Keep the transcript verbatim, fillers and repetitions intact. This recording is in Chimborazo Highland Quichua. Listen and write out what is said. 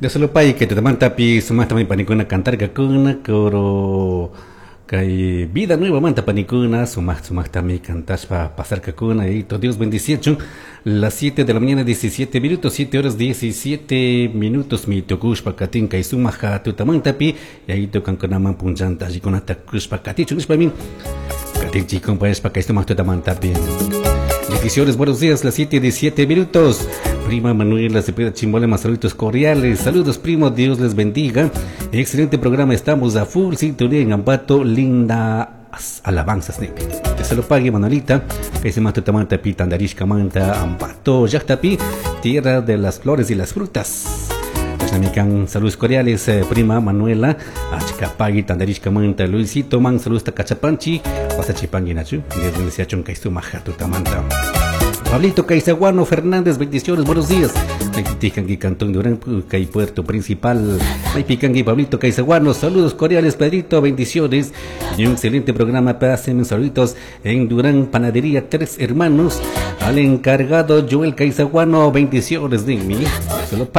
Dios lo pague que tutamantapi sumaqta panikuna cantarkakuna coro kay vida nueva manta panikuna sumaq sumaqtami cantashpa pasarkakuna y Dios bendiciachun. Las siete de la mañana diecisiete minutos, siete horas diecisiete minutos mi tukushpa katin kay sumaq tutamantapi yayito kankunaman punchanta allikunata kushpa katichun nishpami katinchik compañeros kay sumaq tutamantapi. Bendiciones, buenos días, las siete diecisiete minutos. Prima Manuela Cepeda Chimbolema, saludos cordiales. Saludos, primo, Dios les bendiga. Excelente programa, estamos a full sintonía en Ambato, linda alabanzas. Que se lo pague, Manuelita. Que se mata tamanta pi, tandarishka manta, Ambato, llaqtapi, tierra de las flores y las frutas. Saludos cordiales, eh, prima Manuela, Achicapagui, Tandarishka manta, Luisito, man, saludos Cachapanchi, Pasachipangi nachu, Dios bendice a Chunca Tutamanta. Pablito Caizaguano Fernández, bendiciones, buenos días. Maypikanki Cantón Durán, Cay Puerto Principal. Maypikanki Pablito Caizaguano, saludos cordiales, Pedrito, bendiciones. Y un excelente programa, pásenme saluditos en Durán, Panadería Tres Hermanos. Al encargado Joel Caizaguano, bendiciones de mí. Se lo